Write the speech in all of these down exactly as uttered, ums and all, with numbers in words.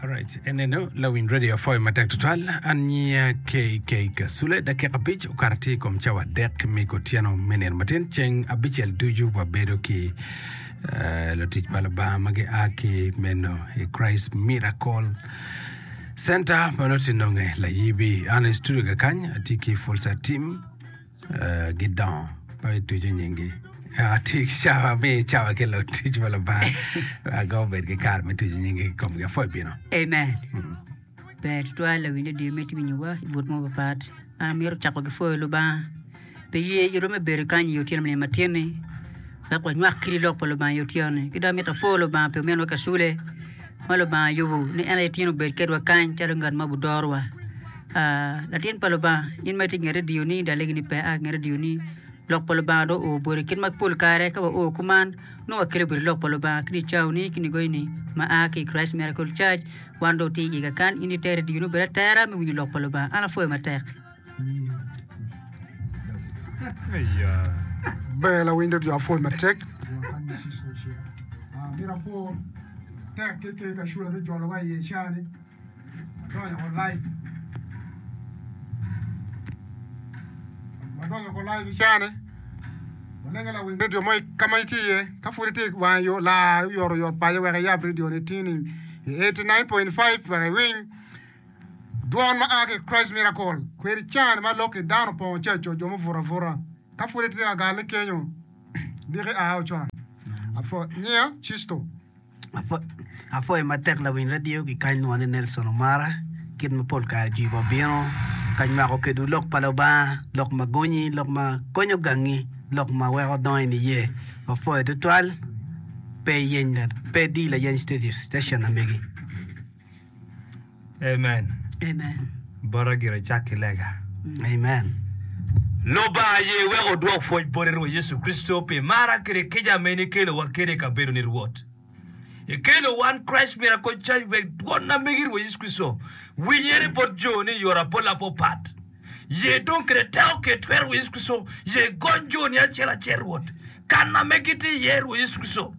Alright, eneno lawiny radio apwoyo matek tutwal an nyinga KK Kasule dakika abic okato tye i kom cawa adek me otyeno me nino matin ceng abicel ducu wabedo ki eh, lutic pa Lubanga ma gia ki meno i Christ Miracle Center ma nongo tye nonge layibi an i studio kakany atye ki Fulsa team eh, gidongo pe ituco nyinggi atye ki cawa mi cawa ki lutic pa Lubanga wek obed ki kare me tuco nyinggi ki komgi apwoyo bino Amen. Ber tutwal lawiny radio me tye winyowa i but mo papat. An amito cako ki pwoyo Lubanga pi ye itwa me bedo kany i otyeno me nino matin-ni wek wanywak kidi lok pa Lubanga i otyeno-ni. Ki dong amito apwo Lubanga pi ominwa Kasule ma Lubanga oyubo ni en aye tin obed kedwa kany calo ngat ma obudorowa. Ah, latin pa Lubanga, in ma itye i nget radio-ni dong alegi ni pe a ki nget radio-ni lok pa Lubanga dong oo boti kit ma pol kare ka wao kuman nongo wakelo boti lok pa Lubanga ki nicawoni ki nigoyoni ma a ki i Christ Miracle Church wan dong watye i iga kan in iter radio-ni obed atera me winyo lok pa Lubanga an apwoyo matek. Ber lawiny radio apwoyo matek. Amito apwo tek ki ki kacula me jolowa i cani wadonyo ko live wadonyo ko live i cani walenge lawiny radio mo ka ma itye iye ka pud itye i wang yo lar oyotoyot paco wek iyab radio ni tini i eighty nine point five wek iwiny dwon ma a ki i Christ Miracle kwedi cani ma lok ki dano opongo caco jo mubuto abuta ka pud itye ka galle kenyo diki a ocon apwo nyinga Cisto. Apwoyo matek lawiny radio ki kany lwongo ni Nelson Omara kit ma pol kare jwi wa bino ka nywako kedwu lok pa Lubanga lok ma gonyi lok ma konyo gangi lok ma weko dongo i niye wapwoyo tutwal pe iyeny pe idi layeny station na megi. Amen. Amen. Bota gire cak ki lega. Amen. Lubanga ye wek odwok pwoc boti Rwot Yecu Kricito pi mara kede kica ma in ikelowa kede i kabedo ni Rwot. Ikelo wan Christ Miracle Church wek dwon na megi Rwot Yecu Kricito winyere bot jo ni i yore apol apopat. Ye dong kede teko kede twero Rwot Yecu Kricito ye gony jo ni acel acel Rwot kan ame gitye iye Rwot Yecu Kricito.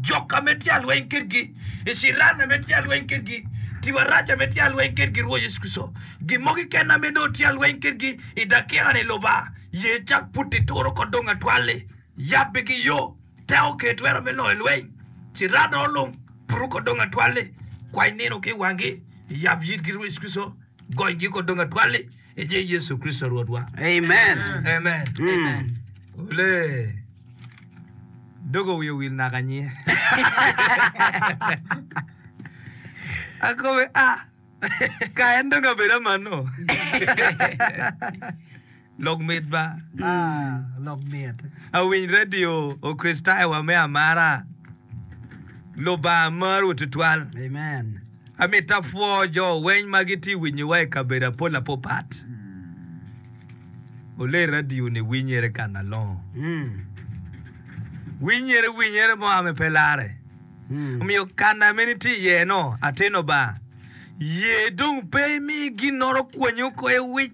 Jok ame tye alweny kedgi, iciran ame tye alweny kedgi, tim arac ame tye alweny kedgi, Rwot Yecu Kricito. Gin mo keken ame nongo tye alweny kedgi i dakika-ni, Lubanga, ye cak puti turo oko dong atwal-li. Yabbe ki yo, teko kede twero me loyo lweny. Ciran olung, putu oko dong atwal-li. Kwany nino ki i wangi, yab yitgi, Rwot Yecu Kricito, gonygi oko dong atwal-li, i nying Yecu Kricito Rwotwa. Amen. Amen. Mm. Ole. Dogo wiye owil naka nyinge. Akobe a ka en dong abedo amano. Lok mit ba. Ah, lok mit. Awiny radio Okricitayo wa me amara. Lubanga marowu tutwal. Amen. Amito apwo jo weny ma gitye winyowa i kabedo apol apopat. Ole radio ni winyere ka nalongo. Mm. Winyere winyere mo ame pe lare. Mm. Omiyo kana me nitye iye no atino ba. Ye dong pe imi ginoro kwanyi oko i wic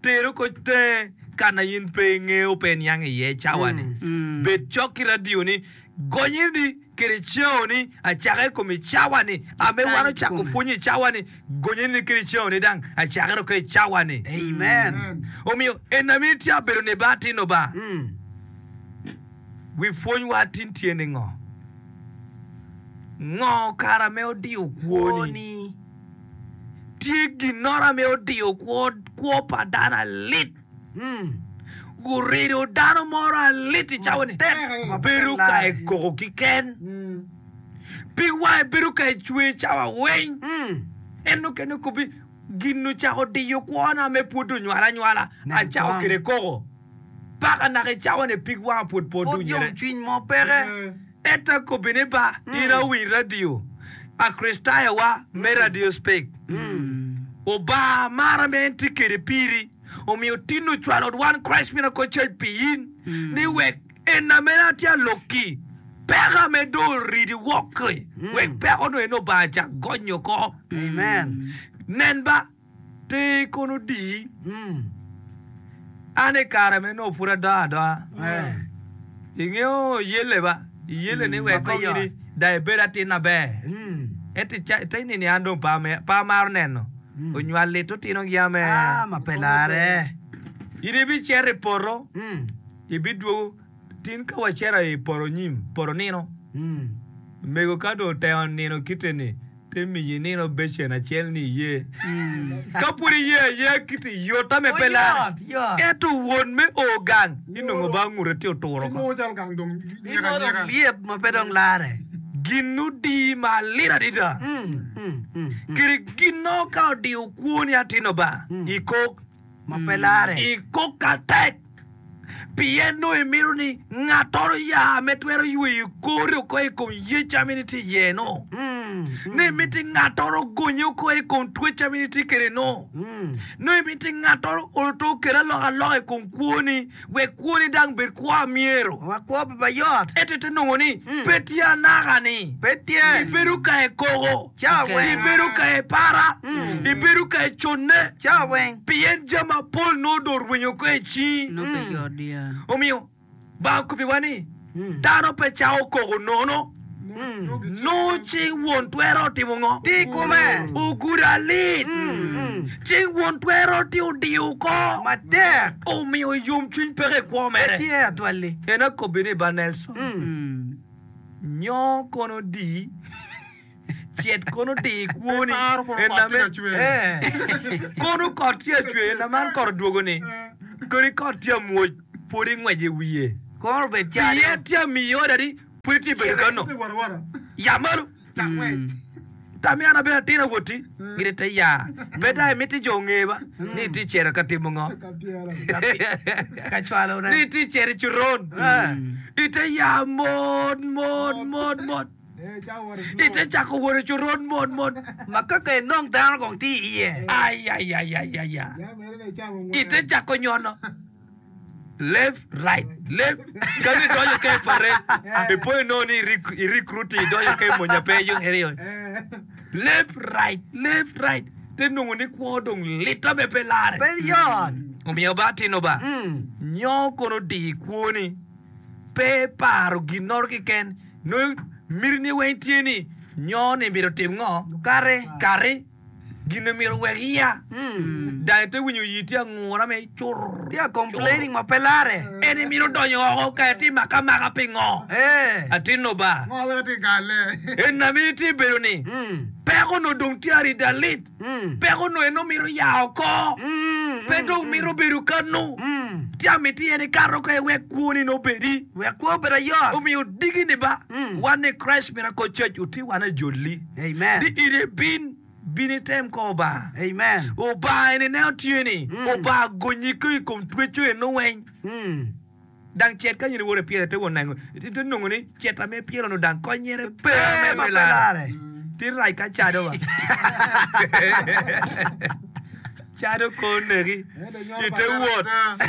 tero ko tenge kana in pe ingeo pe iniang iye cawa ni. Mm. Bed cok ki radio ni gonyi ni kede ceo ni acake i kom i cawa ni ame wan Kany ocako kikome. pwonyo i cawa ni gonye ni kede ceo ni dang acake dok i cawa ni. Amen. Omiyo en ame itye abedo ni ba atino ba. Mm. Wi pwony wa atin tye ni ngo? Ngo kara me odiyo kwoni? Kwoni. Tye ginoro ame odiyo kwo, kwo pa dano alit. Mm. Gurido dano moro alit i cawa ni Matek ma pe bedo ka lare. ekoko kiken. Pig wange bedo ka ecwe cawa weng. Mm. En okene okobi gin ocako diyo kwona me pwod onywala anywala Nen acako kong. kede koko. Paka naka i cawa ni pig wanga pwod pe Pud odunyere. yomcwiny mo peke. Ento akobi ni ba in awiny radio Akricitayo wa me radio speak. Obanga mara me en tye kede piri omiyo tin ocwalo one Christ Miracle Church pi in ni wek en ame atye alokki peko ame dong oridi woko-ki wek peko no en Obanga cak gonyo oko. Amen. Nen ba ter kono odiyi. Mm. An i kare me nongo pud adongo adonga, Eh. ingeyo yelle ba, iyelle ni Ma wek pe kong yot. in dong ibed atin maber. Mm. Ento ite nini an dong pe amaro neno onywal lit otinogi ame. Ah, ma pe lare. In ibicito i poto, ibidwogo tin ka wacito i poto nyim, poto nino. Mego ka dong otemo nino kite-ni, te miyi nino becen acel ni iye. Ka pud iye ayeya kiti yot ame pe lare. Ento won me o gang, inongo ba ngute tye oturo oko. Inongo calo gang dong nyek Inongo dong anyeka. lyet ma pe dong lare. Gin odi malit adada. Kadi ginno ka odiyo kwoni atino ba, ikok. Ma pe lare. Ikok atek. Pien nongo imito ni ngattoro ya me twero yweyo kori oko i kom yec ma in itye iye-nu. Nongo imiti ngattoro ogonyi oko i kom twec ma in itye kwede-nu. Nongo imiti ngattoro oloto okel alokaloka i kom kwoni wek kwoni dang bed kwo a myero. Wek kwo obed mayot. Ento ite nongo ni pe tye anaka-ni. Pe tye. Ibedo ka i koko. Cawa weng. Ibedo ka i para. Ibedo ka i conne. Cawa weng. Pien jami mapol nongo dong orwenyo oko i cingi. Nongo pe yot ya. Omiyo, Banga okobbiwa ni, Dano pe cako koko nono. Nongo cing won twero otimo ngo? Tye i kome. Ogudo alit. Cing won twero tye odiyo oko. Matek. Omiyo yomcwiny peke i kwo Pe mere. tye atwalli. En akobbi ni ba Nelson, nyo kono di cet kono di kwoni Paro kono en kot tye ame ka cwer. kono kot tye acwer na man kot odwogo-ni kodi kot tye amwoc pwod ingweco i wiye Kono obed calo. pien tye amiyi oda ni pwod itye bedo kano Tye wara wara. ya malo Cak ngwec. Tam an abedo atin awoti gire te ya pe dong imiti jo onge ba ni itye cito ka timo ngo Ka pyera. Ka cwalo ne. ni itye cito i coron ite ya mot mot mot mot Eh, cak wot i slow. ite cako wot i coron mot mot Ma ka ka inong dano kong tye iye. ayayayaya Ya mere ne icamo ngwec. ite cako nyono left right left kadi idonyo ka i parade ipo inongo ni i recruit idonyo ka i monya pe iyo Eh. left right left right te nongo ni kwo dong litta me pe lare Pe yot. omiyo ba atino ba nyo kono di kwoni pe paro ginnoro keken nongo mitini weng tye ni nyo ni mito tim ngo Kare. kati gin myero wek iya dang ite winyo yi tye angura me cur Tye a complaining ma pe lare. en imito donyo oko ka itye maka maka pingo Eh. atino ba Ngo wek itye galle. en ame itye bedo ni peko no dong tye arida lit peko no en omito ya oko pe dong mito bedo kanu tye amiti en ikato ka iwek kwoni no obedi Wek kwo obed ayot. omiyo digi ni ba wan ni Christ Miracle Church oti wan ajoli Amen. di ire bin bin item ko Obanga Amen. Obanga eni ne otye ni Obanga gonyi ki i kom tweco eno weng Mm. dang cet ka in iwot ipyelo ite won nengo ite nongo ni cet ame ipyelo no dang konyere pe Pe ame ma pe pe lare lare. ti rac ka cado ba cado ko neki ite wot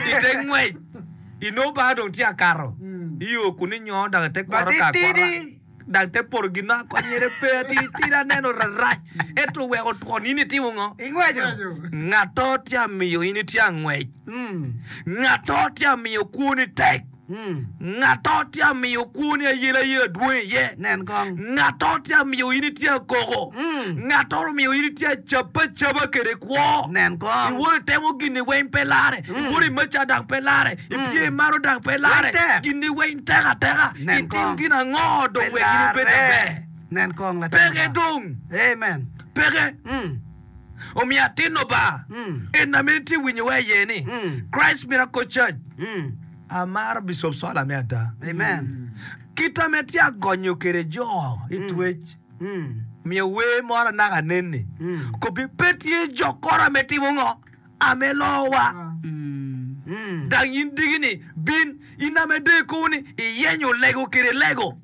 ite ngwec ino ba dong tye akato iyo kun inyo dang ite Ba kworo ti ka akwora tidi. dang te poto gin ma konyere pe ati tidi aneno rarac ento weko twon in itimo ngo Ingweco. ngato tye amiyo in itye angwec Mm. ngato tye amiyo kwoni tek Mm. ngato tye amiyo kwoni ayela ayela dwong iye Nen kong. ngato tye amiyo in itye akoko Mm. ngato omiyo in itye acaba acaba kede kwo Nen kong. iwot itemo gini weng pe lare iwot imaca dang pe lare ipye imaro dang pe lare Weng tek. gini weng tek ateka Nen itim kong. gin ango dong Pe wek in ibed lare. maber Nen kong latin peke ba. dong Amen. peke Mm. omiyo atino ba Mm. en ame itye winyowa iye ni Mm. Christ Miracle Church Mm. amaro Bishop Sola me ada Amen. kita me tye agonyo kede jo i twec Mm. omiyo wer moro anaka neni Mm. kobi pe tye jokoro ame timo ngo ame lowa Mm. Mm. dang in digi ni bin in ame de ikowu ni iyenyo lego kede lego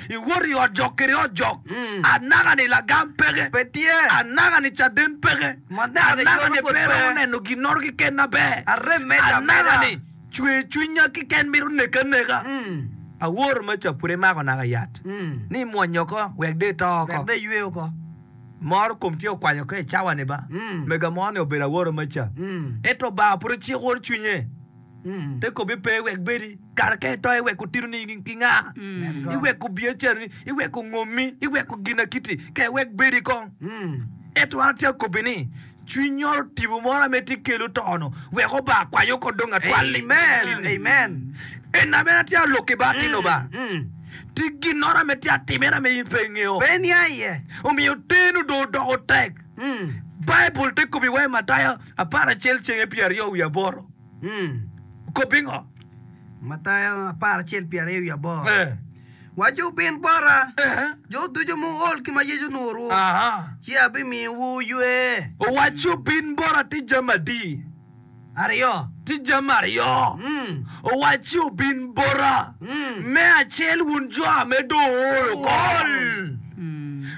iwot i ot jok kede ot jok Mm. anaka ni lagam peke Pe tye. anaka ni caden peke Ma naka ni anaka ni yoto pud pe pe. romo neno ginnoro keken maber Arem meda anaka ameda. ni cwer cwinya keken mito neka neka Mm. awor maca pud imako naka yat Mm. ni imwonyo ko wek de ito oko Wek de ywe oko. moro kom tye okwanyo ko i cawa ni ba Mm. mega mo ni obedo aworo maca Mm. ento ba pud ociko cwinye Mm. te kobi pe wek bedi Kare ka ito iweko tinoni ki nga? Iweko biacarani, iweko ngomi, iweko ginakiti, ka iwek bedi kong. Ento an atye akobbi ni, cwiny oro tipo moro ame tye kelo to-no, wek oba kwanyo ko dong atwal-li. Amen. Amen. En ame an atye alokki ba atino ba. Ti ginnoro ame tye atimere ame in pe ingeo. Pe nia iye. Omiyo teno dong odoko tek. Baibul te kobi wa i Matayo apar acel cenge pyeraryo wiye aboro. Kobbi ngo? Matayo apar acel pyeraryo wiye aboro. Eh. Waco wubin bota, Eh. jo ducu muol ki ma Yecu nurwu, Aha. ci abimiyowu ywe. Owaco bin bota ti jami adi? Aryo. Ti jami aryo. Mm. Owaco obin bota. Me acel wun jo ame dong ool oko. Ool.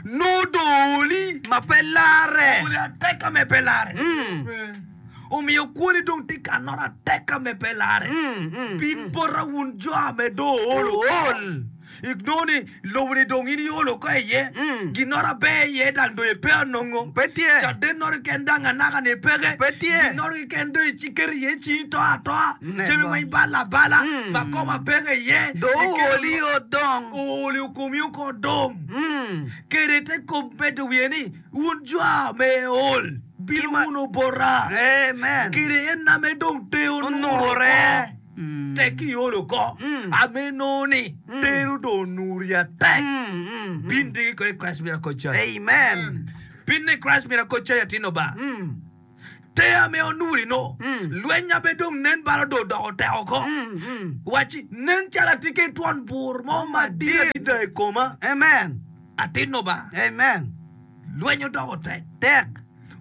Nongo dong ooli. Ma pe larre. Ooli ateka me pe larre. Mm. Omiyo kwoni dong tye ka noro ateka me pe larre. Mm, mm, Bin bota wun jo ame dong ool oko. Inongo ni lobo-ni dong in iolo oko iye, Mm. ginnoro aber iye dang dong ipe anongo. Pe tye. Caden noro keken dang anaka-ni peke. Pe tye. Ginnoro keken dong iciketo iye cingi to atoa. Nen Jami go. weng bal abala, Mm. makoba peke iye. Dong Ikelo ooli odong. ooli okomi oko dong. Mm. Kede te kom medo wiye ni, wun jo ame ool, bin Ki ma- wunu bota. Amen. Kede en ame dong te onure Onure. oko. Tek iolo oko. Mm. Ame nongo ni tero dong onuri atek. Mm, mm, mm. Bin digi kode Christ Miracle Church. Amen. Bin ni Christ Miracle Church atino ba. Mm. Te ame onuri no. Mm. Lweny abe dong nen balo dong odoko tek oko. Mm, mm. Waci nen calo atye ki twon bur mo madit adada i koma. Amen. Atino ba. Amen. Lweny odoko tek. Tek.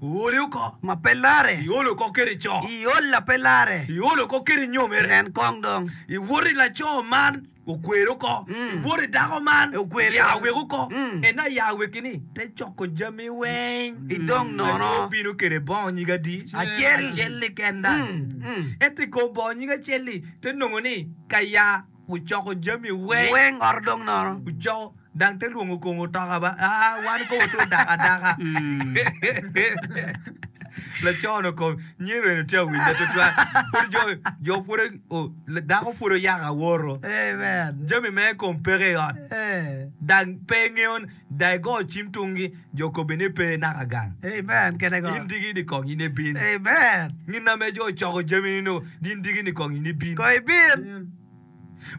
Ooli oko. Ma pe larre. Iolo oko kede co. Iol la pe larre. Iolo oko kede nyomere. Nen kong dong. Iwoto i laco man okweri oko. Mm. Iwoto i dako man Okweri. ya wek oko. Mm. En aya weki ni te coko jami weng. Idong nono. Obino kede bongo nyig adi? Acel. Acel-li kenda. Mm, mm. Ento i kom bongo nyig acel-li te nongo ni ka ya ocoko jami weng. Weng ot dong nono. Ocoko dang te lwongo kongo otoka ba. Ah, wan ko oto daka daka. Laco-no kom nyero eno tye awinja tutwal. Pud jo jo pud o dako pud oyako aworo. Amen. Jami me kom peke i ot. Eh. Dang pe ngeo dang igo cim tungi jo kobe ni pe naka gang. Amen. Kene go. In digi ni kong in ibin. Amen. Ngin ame jo ocoko jami ni no din digi ni kong in ibin. Ko ibin.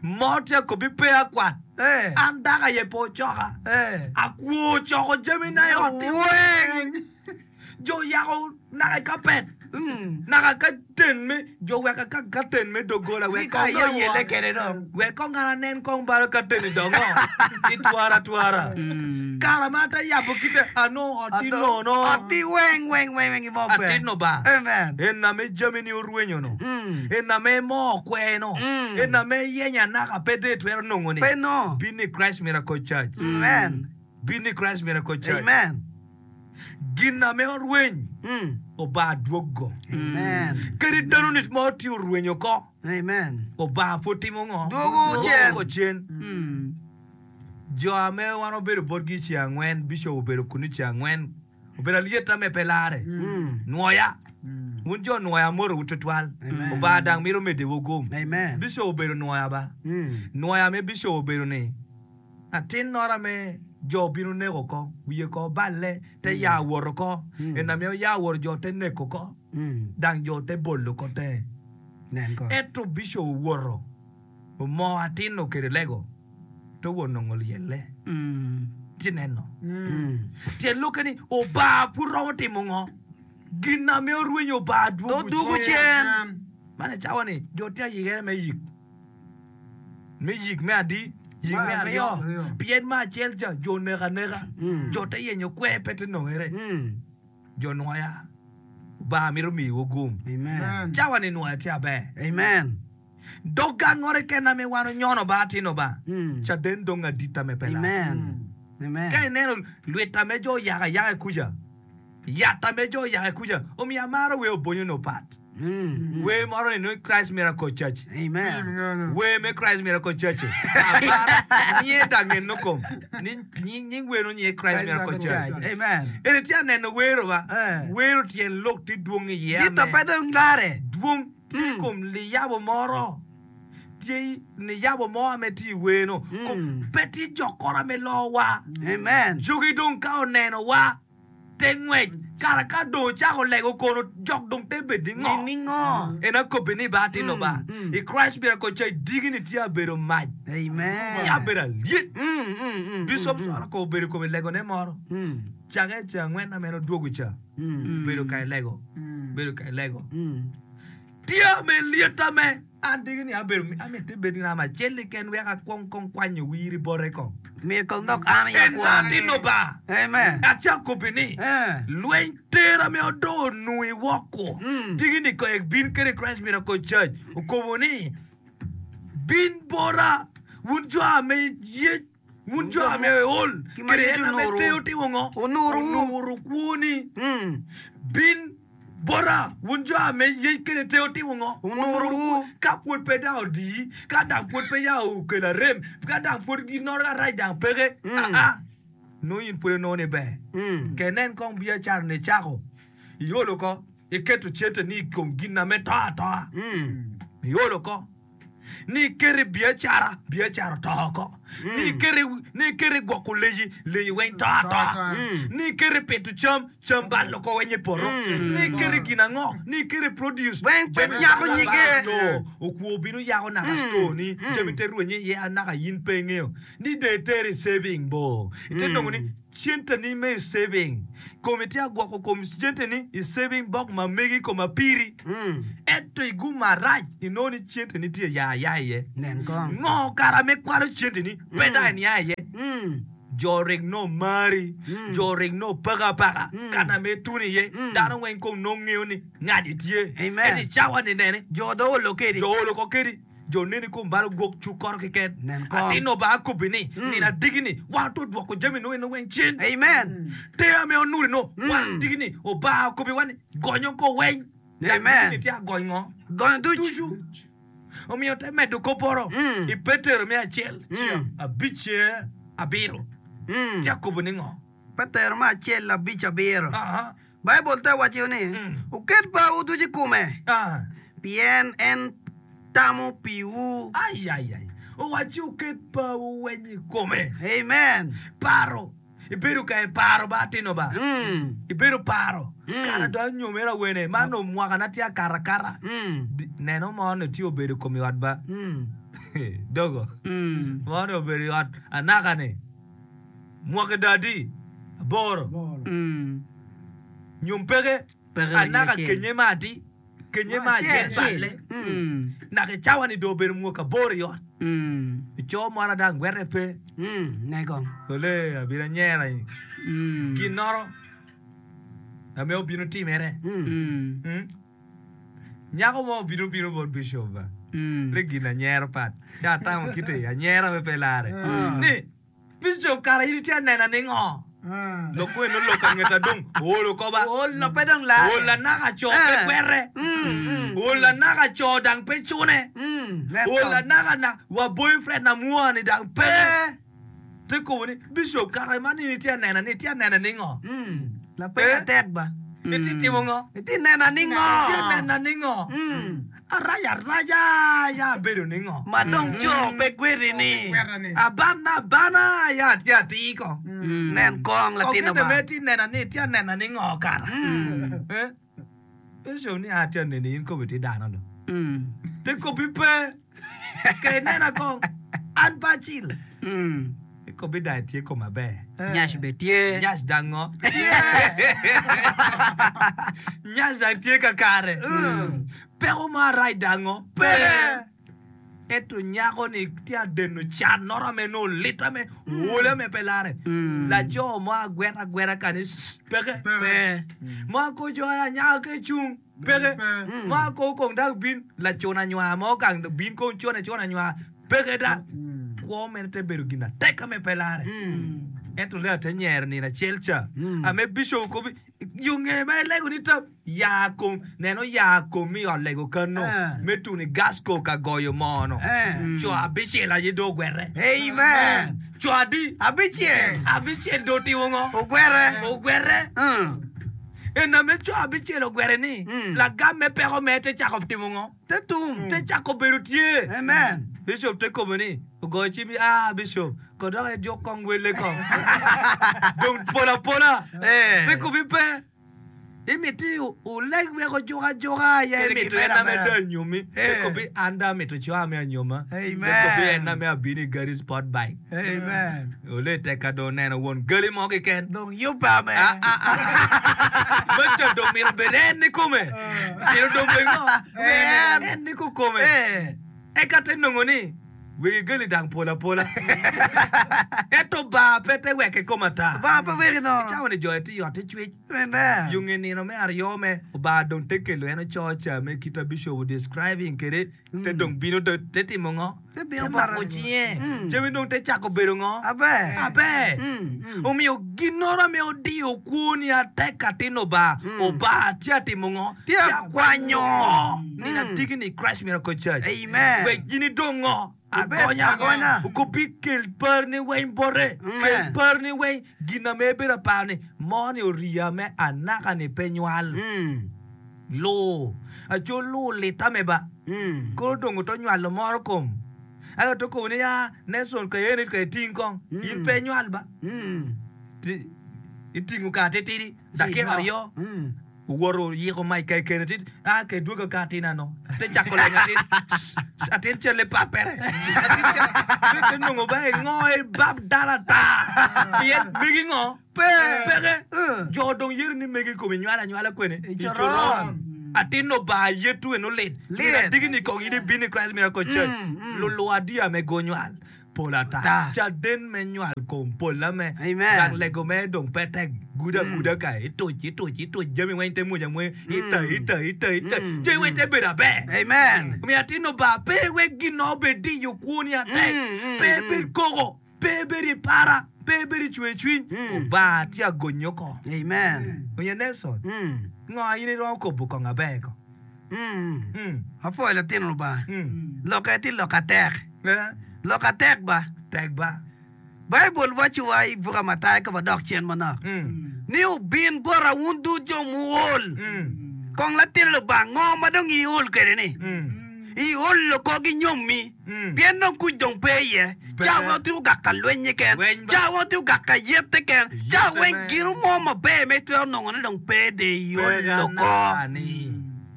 Mo tye kobi pe akwat. Eh. An dako aye pe ocoka. Eh. Akwo ocoko jami na i ot. Weng. Jo yako naka i kapet. Mm. Naka ka ten me jo weka ka ka ten me dogola Ni wek kong ka dong yele kede dong. Wek kong ngana nen kong balo ka ten i dongo. Itwara twara. Kara ma ate yabo kite ano oti nono. Oti weng weng weng weng imo pe. Atino ba. Amen. En ame jami ni orwenyo no. Mm. En ame mo okwe no. Mm. En ame yenya naka pe de twero nongo ni. Pe no. Bin ni Christ Miracle Church. Amen. Bin ni Christ Miracle Church. Amen. Gin ame orweny Mm. oba dwogo. Amen. Kadi dano ni mo tye orwenyo ko. Amen. Oba pud timo ngo? Dwogo cen. Dwogo cen. Jo ame wan obedo botgi i ceng angwen, bishop obedo kunu i ceng angwen. Obedo alyetta me pe larre. Mm. Nwoya. Wun jo nwoya amorowu tutwal. Amen. Oba dang mito mediwu gum. Amen. Bishop obedo nwoya ba. Mm. Nwoya me bishop obedo ni atin nora me jo obino neko ko, wiye ko balle, te ya woto ko, en ame oya woto jo te neko ko, Mm. dang jo te bolo ko te. Nen ko. Ento bishop owoto, omoo atin okede lego, to won nongo lyelle. Tye neno. Mm. Tyen lukke ni oba pud romo timo ngo? Gin ame orwenyo oba dwogo Dwogo cen. Man icawa ni jo tye ayikere me yik. Me yik me adi? Yik Me me aryo. aryo. Pien me acel ca jo neko aneka. Mm. Jo te yenyo kwer pe te nongere. Mm. Jo nwoya. Oba mito miyowu gum. Amen. Cawa ni nwoya tye aber. Amen. Dog gang ngore kena me wan onyono ba atino ba. Mm. Caden dong adita me pe lar. Amen. Amen. Ka ineno lwita me jo oyako ayaka i kuca. Yatta me jo oyako i kuca. Omiyo amaro we obonyo no pat. Mm. We moro ni no Christ Miracle Church. Amen. We me Christ Miracle Church. Amaro nye dangen no kom. Ni ni ni we no nye Christ Miracle Church. Amen. Ene tye aneno wero ba. Eh. Wero tyen lok tye dwong iye Gito ame. pe dong larre. Dwong tye i kom liyabo moro. Tye niyabo mo ame tye i weno. Mm. Pe tye jokoro ame lowa. Amen. Jogi dong ka onenowa, te ngwec. Kara ka dong ocako lego kono, jok dong te bed ni ngo? Ni ngo? En akobbi ni ba atino ba. I Christ Miracle Church digi-ni tye abedo mac. Amen. Tye abedo alyet. Mm, mm, mm, Bishop Sora ko obedo kome legone moro. mm, Cake ceng angwen ame en odwogo ca. mm, Bedo ka ilego. Bedo ka ilego. mm. Tye me lyetta me an digi ni abedo amito ibed ngat acel keken wek akwong kong kwanyo wiri bote kong. Myero kong dok an aye En akwan. atino ba. Amen. Atye akobbi ni Eh. lweny tera me odo onui woko. Mm. Digi ni ko bin kede Christ Miracle Church okobo ni bin bota wun jo ame yec wun jo ame ol Ki ma kede yec en ame onuru. teo timo ngo Onuruwu. onuru kwoni Mm. bin bota wun jo ame yec kede teo timo ngo Onuruwu. ka pwod pe dang odiyi ka dang pwod pe ya okelo arem ka dang pwod ginoro arac dang peke Mm. aa nongo in pwod inongo ni ber Mm. ke nen kong biacara ni icako iolo ko iketo cente ni i kom gin ame to atoa Mm. iolo ko ni iketo i biacara biacara oto oko ni iketo ni iketo i gwoko leyi leyi weng to atoa ni iketo i pito cam cam bal oko weng i poto ni iketo i gin ango ni iketo i produce Weng pe jami nyako bal nyige. abala store okwo bino yako naka store ni jami te rwenye iye anaka in pe ingeo ni dong itero i saving bo ite nongo ni cente ni me i saving komi tye agwoko kom cente ni i saving box ma megi kom apiri Mm. ento i gum marac inongo ni cente ni tye ya aya iye Nen kong. ngo kara me kwalo cente ni pe dong iniang iye Mm. jo rik no mari jo rik no paka apaka kana me tun iye dano weng kom nongo ngeo ni ngadi tye Amen. ento i cawa ni nene Jo do olo kedi. jo olo ko kedi jo neni kom balo gwok cuk koro keken Nen kong. atino ba akobi ni nino adigi ni wan to dwoko jami no eno weng cen Amen. te ame onuri no wan digi ni oba akobi wan ni gonyo ko weng Dang Amen. digi ni tye agony ngo Gonyo duc. ducu omiyo te medo koporo Mm. i petero me acel Mm. abic abiro Mm. tye akobo ni ngo Petero me acel abic abiro. Aha. Baibul te waco ni Mm. wuket parwu ducu i kome Ah. pien en tamo piwu. Ai, ai, ai. Owaci wuket parwu weng i kome Amen. paro ibedo ka iparo ba atino ba Mm. ibedo paro Mm. kara dong anyomera wene man dong mwakana tye akarakara Mm. Di- neno mo ni tye obedo kom i ot ba Mm. dogo Mm. mo ni obedo i ot anaka ni mwaki dadi aboro Mm. nyom peke Peke anaka acel. kenye ma adi kenye ma acel Acel. balle Mm. naka i cawa ni dong obedo mwaka aboro i ot Mm. ico moro dang gwete pe Mm. Nen kong. ole abino anyera Mm. ginoro ame obino timere Mm. Mm. Mm. Nyako mo obino bino bot bishop ba Mm. ni gin anyero pat ca atamo kite anyero me pe lare ni bishop kara in itye anena ni ngo lok eno lok angeta dong oolo koba Ol no pe dong lare. ol anaka co pe Eh. kwere Mm. Mm. ol anaka co dang pe cune Mm. Nen ol kong. anaka na wa boyfriend na mua ni dang peke Eh. te kobo ni bishop kara man in itye anena ni itye anena ni ngo Mm. Lapeny Eh. atek ba. itye timo ngo Itye nena ni ngo. itye nena ni ngo Mm. araja araja ya abedo ni ngo Ma dong co pe kwedi ni. abana abana ya tye atir ko Mm. Nen kong latino Okete ba. me tye nena ni tye anena ni ngo kara Mm. Eh? Bishop ni a tye aneni in kobi tye dano do Mm. te kobi pe ke inena kong an pe acil Mm. I kobi dang tye kom maber Nyac be tye. nyac dang ngo nyac dang tye kakare peko mo arac dang ngo Pe. ento nyako ni tye adeno can noro ame nongo lit ame ol ame pe lare Mm. laco mo agweta agweta kani sss, peke Pe. mo ako jo anyaka ke cung peke mo ako kong dak bin lacun anywar mo kang bin kong cun acun anywar peke da kwo mene te bedo gin atek ame pe lare ento le ate nyero nino acel ca ame bishop kobi yo nge ma ilego ni tam ya kom neno ya kom i ot lego kano Eh. me tuni gasco ka goyo mono Eh. co abicel aye do ogwere Amen. co adi Abicel. abicel do otimo ngo Ogwere. ogwere Mm. en ame co abicel ogwere ni Mm. lagam me peko me te cako timo ngo Te tum. te cako bedo tye Amen. Bishop te kobo ni ogoyo cim ah Bishop ko dok ijuk kong welle kong. Dong pol apola. Eh. Te kobi pe. Imiti oleg wek ojuk ajuka aye Kede imito kimera en ame amera. do anyomi. Te Eh. kobi an do amito co ame anyoma. Te Amen. kobi en ame abino i gari sport bike. Amen. Ole tek ka do oneno won gali mo keken. Dong yubbe ame. Ah, ah, ah. Maca dong mito bed en ni kome. Mito dong bed ngo? En. En ni kukome. Eh. Eka te nongo ni wegi gali dang pol apola. Ento bar pe te wek i kom ata. Ba pe weki nono. Icawa ni jo eti yot icwec. Amen. Yo nge nino me aryo me obar dong te kelo en oco ca me kita bishop describing kede te dong bino do te timo ngo? Te bino Te mako bote. cinge. Mm. Jami dong te cako bedo ngo? Aber. Aber. Mm, mm. Omiyo ginoro ame odiyo kwoni atek atin obar. Obar tye atimo ngo? Tye akwanyo. Nina Mm. tigi ni Christ Miracle Church. Amen. Wek gini dong ngo? Ibed Agonya. agonya. Okobi kel par ni weny bote. Amen. Kel par ni weny. Gin ame bedo aparo ni mo ni oriya me anaka ni pe nywal. Mm. Luu. Aco luu lita me ba. Mm. Koro dongo to nywalo moro kom. Aka to kobo ni ya Nelson ka yeni ka iting kong. In pe nywal ba. Mm. Ti- Itingo ka titidi. Dakika aryo. Mm. Owuoto yiko mic ka kene tit ah ke dwogo ka atin ano te chako lenyo atin s- atin chele papere atin chele te nongo ba ngo e bab dala ta pien megi ngo Pe. peke Eh. jo dong yeri ni megi komi nywala nywala kwene I coron. atin no ba yetu eno lit Lit. adigi ni kong ini bini Christ Miracle Church Mm, mm. lulu adia me go nywal pol ata Ta. caden me nywal kom pol ame Amen. gang lego me dong pe tek guda guda ka ituc ituc ituc jami weng te muja mwe ita ita ita ita Mm, jami weng te bedo aber Amen. omiyo atin oba pe wek gin obed diyo kwoni atek Mm, mm, pe mm. bed koko pe bed i para pe bed i cwercwiny Mm. Obanga tye agonyi oko Amen. omiyo Nelson Mm. ngo in iromo kobo kong aber ko Mm. Mm, Apwoyo latin Lubanga. mm. Lokke tye lok atek. Eh, Lok atek ba. tek ba Baibul waco wa i buka Matayo ka wadok cen manok. Mm, Ni obin bota wun ducu jo muol. mm, Kong latin Lubanga ngo ma dong iol kwede ni? mm. Iol oko ki nyommi. Mm. Pien dong kuc dong pe iye. Pe. Ca weng otye ogak ka lweny keken. Lweny ba. Ca weng otye ogak ka yet keken. Ca Yette weng me. gino mo maber ma itwero nongone dong pe de iol Pe oko. anaka-ni.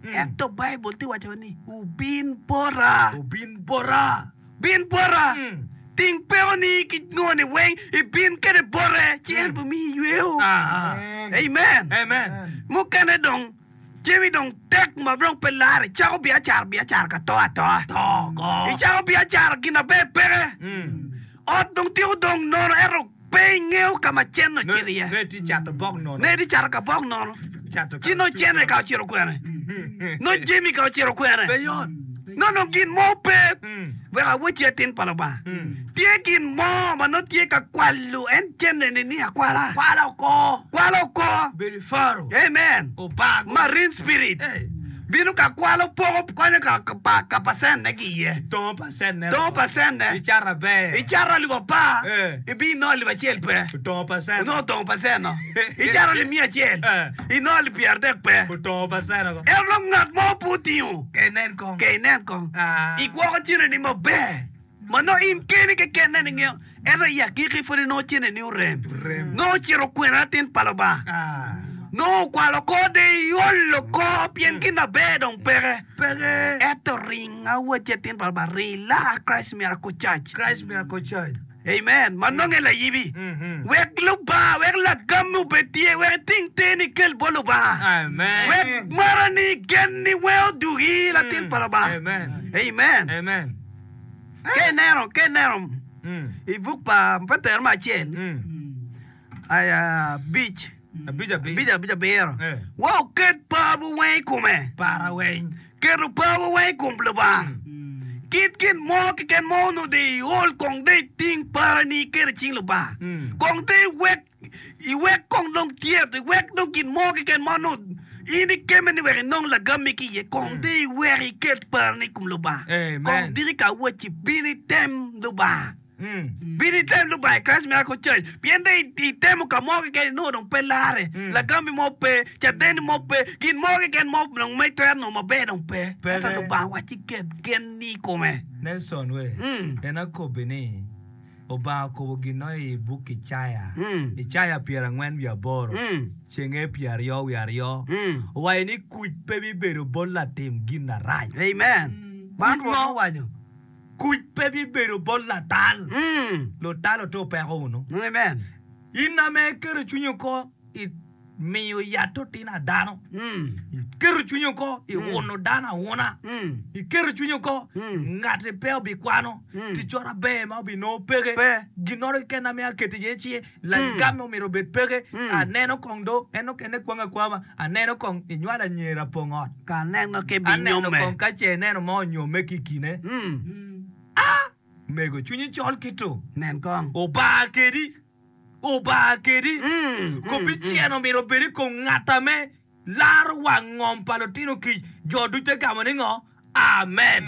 Mm. Ento Baibul tye waco ni obin bota. Obin bota. Bin bota. Mm. Ting pekoni ki ngoni weng ibin kede bote ci en bimiyi yweo. Ah, ah. Amen. Amen. Mukene dong jami dong tek ma dong pe lare icako biacara biacara ka to atoa. To ko. Icako biacara gin aber peke. Mm. Ot dong tiko dong nono ento pe ingeo ka ma cen ocito iye. Ne ti cato bok nono. Ne di cato ka bok nono. Cato ka- Ci no cene ka ocito kwene. No jami ka ocito kwene. Pe yot. No no gin mo pe. Mm. Wek aweci atin pa Lubanga. Mm. Tye gin mo ma nongo tye ka kwalo en cene-ni ni akwala. Kwala oko. Kwalo oko. Bedo i faro. Amen. Obago. Marine spirit. Eh. Bino ka kwalo poko konyo ka ka pa ka percent ne ki iye. Tongo percent ne. Tongo percent ne. Icato aber. Icato alip apar. Eh. Ibino alip acel pe. Otongo percent. Onongo tongo percent no. Icato alip miya acel. Eh. Inongo alip pyeradek pe. Otongo percent oko. Ento dong ngat mo pe otingo. Ke inen kong. Ke inen kong. Ah. Igwoko ceneni maber. Ma nongo in keni keken nene ingeo. Ento i agikki pwod inongo ceneni orem. Orem. Nongo ocito kwena atin pa Lubanga. Ah. Nongo okwalo oko de iolo oko pien gin aber dong peke. Peke. Ento ring awacci atin pa Lubanga ring laa Christ Miracle Church. Christ Miracle Church. Amen. Ma nonge layibi. Mhm. Wek Lubanga, wek lagam obed tye, wek iting teni ikel bot Lubanga. Amen. Wek marani genni wek odugi latin pa Lubanga. Amen. Amen. Amen. Ka ineno, ka ineno Mm. i buk pa Petero me acel, Mm. ay, abic, Abic abic. abic abic abiro. Eh. Wa oket parwu weng i kome. Para weng. Keto parwu weng i kom Lubanga. Kit gin mo keken mo onongo de iol kong de iting parani iketo i cing Lubanga. Mm. Kong de iwek iwek kong dong tyet, iwek dong gin mo keken ma onongo in ikeme ni wek inong lagammi ki iye. Kong de iwek iket parani i kom Lubanga. Amen. Kong diki ka awacci bin item Lubanga. Bin item Lubanga i Christ Miracle Church pien dong itemo ka mo keken inongo dong pe larre, lagammi mo pe, cadenni mo pe, gin mo keken mo dong ma itwero nongo maber dong pe. Ento Lubanga wacci ket genni i kome. Nelson we, en akobbi ni Obanga okobo gin-no i buk Icaya, Icaya pyerangwen wiye aboro, cenge pyeraryo wiye aryo, owaco ni kuc pe bibedo bot latim gin arac. Amen. Man Kuc Rwot mo? owaco. Kuc pe bibedo bot latal. Lutal oto peko wunu. Amen. In ame iketo cwinyi oko i miyo yat otino a dano, iketo cwinyi oko i uno dano auna, iketo cwinyi oko ngati pe obikwano, ticoro aber ma obinongo peke, ginoro keken ame aketo iye ci lagam omyero obed peke, aneno kong do en okene kwang akwama, aneno kong inywalo anyira pong ot, Ka aneno ki aneno binyome. kong ka ce ineno mo onyome ki i kine. Ah! Mego cwinyi col kito. Nen kong. Obar kedi. Obar kedi. Kopi cen omyero obed i kom ngat ame laro wang ngom pa lutino kic. Jo ducu te gamo ni ngo? Amen.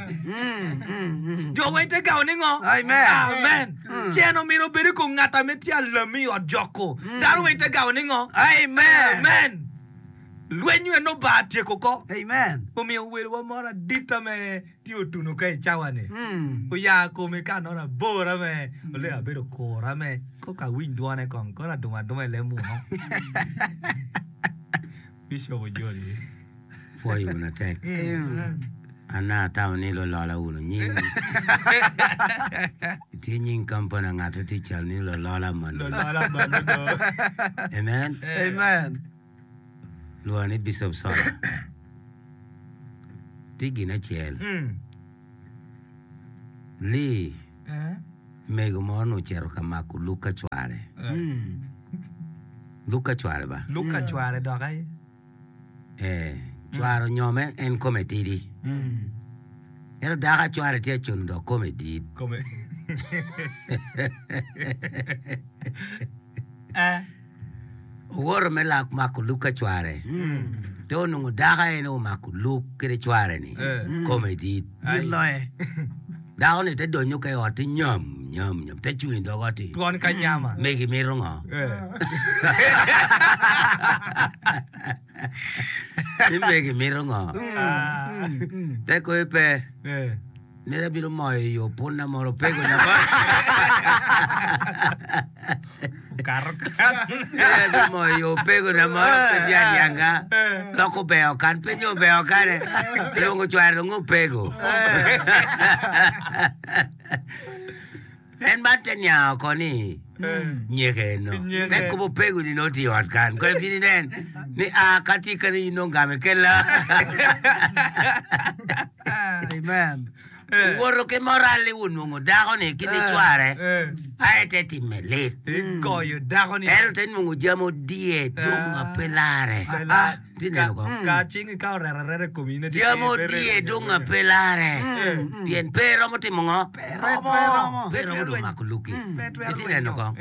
Jo weng te gamo ni ngo? Amen. Amen. Cen omyero obed i kom ngat ame tye alami i ot joko. Dano weng te gamo ni ngo? Amen. Amen. Lweny en obar tyeko ko. Amen. Omiyo welowa moro adit ame tye otuno ka i cawa-ni, oya kome ka anoro abor ame oleo abedo okuro ame koka awiny dwone kong kono adumo aduma i leb muno. Bishop ojoli. Pwoyo wunu atek. An atamo ni lulola wunu nying. Tye nying kampani angat tye cal ni lulola manu. Lulola manu do. Amen. Amen. Lwongo ni Bishop Sola. Tye gin acel. Lee mego mo onongo ocito ka mako luk ka cware. Luk ka cware ba? Luk ka cware dok aye. Eh, cware onyome en kome tidi. Ento dako a cware tye acuno dok kome dit. Kome. Eh. Owoto me lak mako luk ka cware, te onongo dako aye ni omako luk kede cware-ni, kome dit. Dit loye. Dako-ni te donyo ka i ot ti nyam, nyam, nyam, te cung i dog ot-ti. Twon ka nyama. Megi mito ngo? Ni megi mito ngo? Te koyo pe. Nene abino moyo i yo punna moro pego na mo. Nene abino moyo i yo pego na moro pe tye adyanga. Loko obeo kan pe nyo obeo kane. Lwongo cware dong opego. En man te niang oko ni nyeke eno. Te kobo opego ni nongo tye i ot kan. Kong ibin inen ni a ka tye kene in nongo game kela. Amen. Owoto ki moral-li onongo dako-ni ki nicware aye te timme lit. Igoyo dako-ni. Ento te nongo jami odiye dong a pe larre. Itye neno ko? Ka cingi ka oreto areta i komi in Jami odiye dong a pe larre. Pien pe romo timo ngo? Pe romo. Pe romo dong mako luki. Itye neno ko?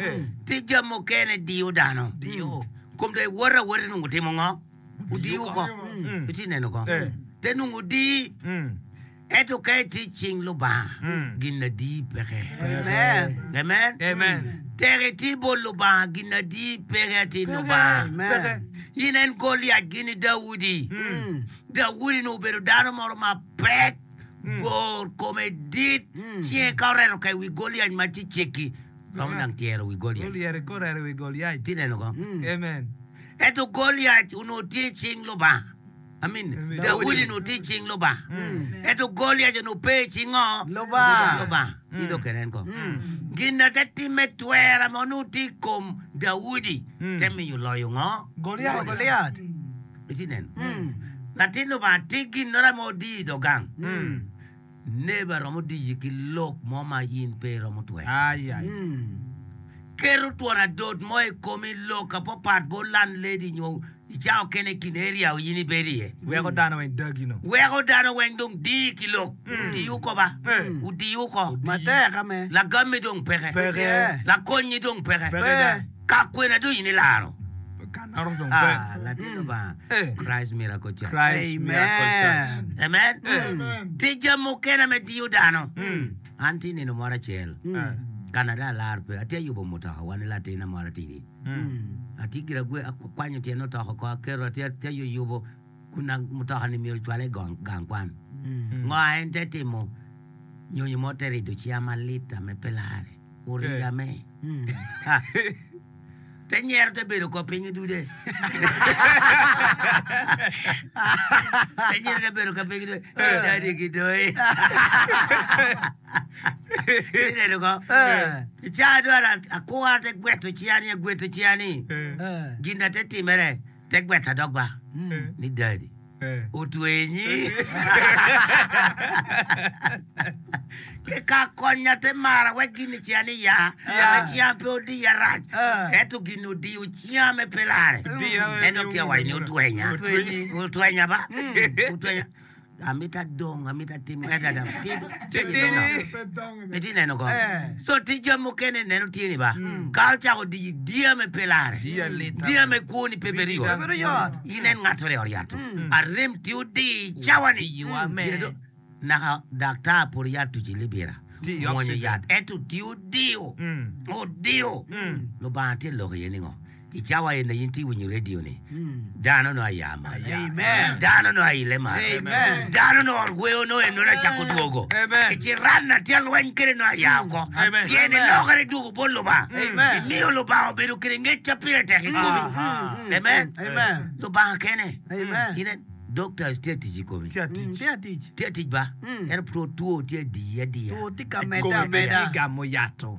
Tye jami mukene diyo dano. Kom dong iwoto awota nongo timo ngo? Odiyo oko. Itye neno ko? Te nongo odiyi. Ento ka itye i cing Lubanga, gin adi peke. Amen. Amen. Amen. Tek itye bot Lubanga, gin adi peke atir Lubanga. Amen. In en Goliac gini Daudi. Daudi ni obedo dano moro mapek, bor, kome dit, cinge ka oreto ka i wi Goliac ma tye cekki, romo dang tyero wi Goliac. Goliac ka oreto i wi Goliac. Itye neno ko? Amen. Ento Goliac onongo tye i cing Lubanga. Amin. Daudi onongo tye i cing Lubanga. Ento Goliac onongo pe i cing ngo? Lubanga. Lubanga. In dong kenen ko. Gin na te timme twera ma onongo tye i kom Daudi te miyo loyo ngo? Goliac. Goliac. Itye neno? Latin Lubanga tye ginnora ma odiyo i dog gang. Neba romo diyi ki lok mo ma in pe iromo twero. Ai, ai. Keto twon adot mo i komi lok apapat bot landlady nyo i cawa okene i kin area in ibedo iye. Weko dano weng dagi no. Weko dano weng dong diyi ki lok. Diyi oko ba. Odiyi oko. Matek ame. Lagammi dong peke. Peke. Lakonnyi dong peke. Peke da. Ka kwena dong in ilaro. Ka naro dong pe. Ah, latin Lubanga. Eh. Christ Miracle Church. Christ Miracle Church. Amen. Tye jami mukene me diyo dano. An tye nino moro acel, Canada alar pe atye yubo mutoka wan i latina moro atidi atye gira gwe akwanyo tyen otoko ko aketo atye atye yuyubo kuna mutoka ni myero cwale i gang kwan ngo en te timo nyonyo mo te rido cia malit ame pe lare orido ame te nyero te bedo ko piny idude te nyero te bedo ka piny idude dadi ki doi ineno ko ica dwaro akura te gweto cia ni agweto cia ni gin na te timere te gweta dok ba ni dadi otwenyi ke ka konya te mara wek gin cia ni ya ame cia pe odiya rac ento gin odiyo cia me pe lare en dok tye awaco ni otwenya otwenya ba otwenya amita dong amita timo adada iti neno ko so ti jami mukene neno tye ni ba ka ocako diyi diya me pe lare diya me kwoni pe bedo yot inen ngato re oryato arem ti odi cawa ni naka daktar pur yat tuci libira mwonyo yat ento ti odiyo odiyo Lubanga tye lok iye ningo i cawa eni in tye winyo radio ni dano no aya malo dano no aile malo dano no orweo no en no acako dwogo iciran tye lweny kede no aya oko pien ilokere dwogo bot Lubanga imiyo Lubanga obedo kede ngec ca pire tek i komi amen Lubanga kene inen doctors tye tic i komi tye tic ba ento two two tye diyi adiya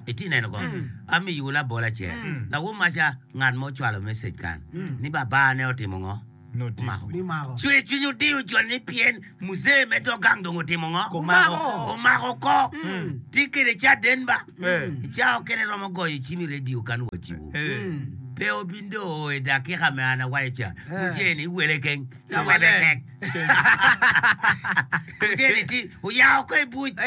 iti neno ko amiyo labol acel lawo maca ngat mo ocwalo message kan ni baba ne otimo ngo omako cwer cwiny odiyo joni ni pien muzee me dog gang dong otimo ngo omako ko tye kede caden ba ica okene romo goyo cim i radio kan waciwu pe obindo i dakika me an awaco ca muzee ni iwele keng ci webe kek muzee ni ti oyao ko i buc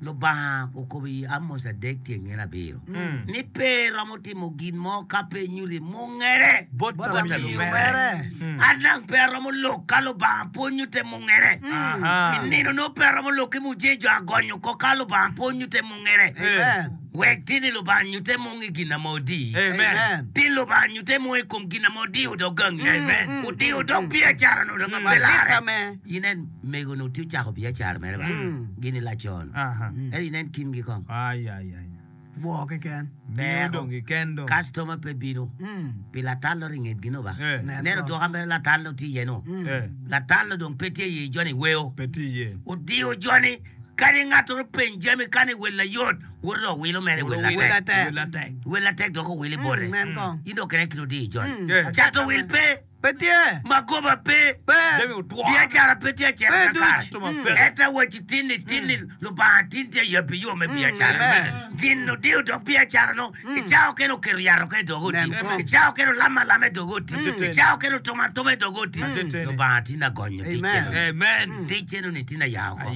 Lubanga okobo i Amos adek tye ngene abiro ni pe romo timo gin mo ka pe nyuti mungere bot lumere an dang pe aromo lok ka Lubanga pe onyute mungere i nino no pe aromo lok ki muje jo agonyo ko ka Lubanga pe onyute mungere wek tini Lubanga nyute mung i gin ame odi tin Lubanga nyute mung i kom gin ame odiyo dog gangi odiyo dog biacara no dong pe lare inen mego no tye ocako biacara mere ba gini laco no ento inen kingi kong Wo keken. Customer pe bino pi latal ori ngetgi no ba neno twoka me latal tye iye no latal dong pe tye iye joni weo odiyo joni kadi ngato peny jami kani wel ayot woto owilo mere wel atek wel atek dok owilo i bote in dok kene kit odiyo joni cato wil pe magoba pe biacara pe tye acito kakare ento awaci tinni tinni Lubanga tin tye yabi yo me biacara gin odiyo dok biacara no ica okene oketo yat oko i dog oti ica okene olamo alama i dog oti ica okene otomo atoma i dog oti Lubanga tin agonyo ticce ticce no ni tin aya oko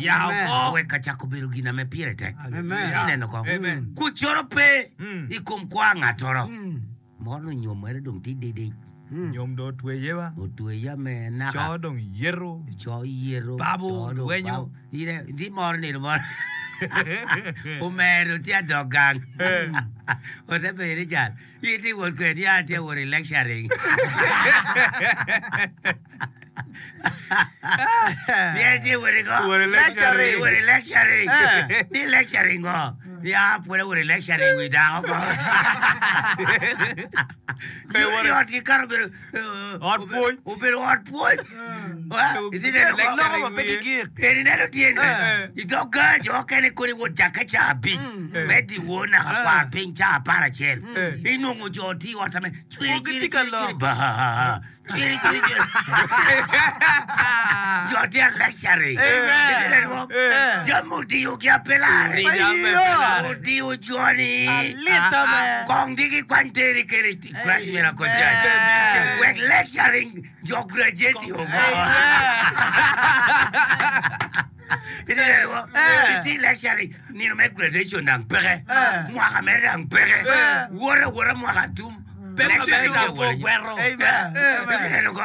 oweko acako bedo gin ame pire tek iti neno ko kucoro pe i kom kwa ngatoro moro nyom ere dong ti didic Nyom do otweye ba. Otweye me naka. Co dong yeto. Co yeto. Babo lwenyo. Ine di moro nino moro. Omero tye adok gang. Ote penyo ni cal. In tye wot kwede ya tye wot i lecturing. Ni tye wot i go. Wot i lecturing. Wot i lecturing. Ni lecturing ngo. Ya pwod awot i lecturing wi dako ko. Ot ki kare obedo Ot pwony. Obedo ot pwony. Loko ma pe gigik. Eni neno tye ni i dog gang jo okene kodi wot cakke ca abic me dyewor naka kwar piny ca apar acel. Inongo jo tye i ot ame cwiri cwiri cwiri ba cwiri cwiri cwiri jo tye a lecturing. Iti neno jami odiyo gi ape lare. Odiyo joni kong di gikwany teri kede Christ Miracle Church wek lecturing jo graduate oko. Iti neno iti lecturing nino me graduation dang peke mwaka mere dang peke wot awota mwaka tum Pe Lecturing ma tye pe wot anyim. gwero. Amen. Itye neno ko?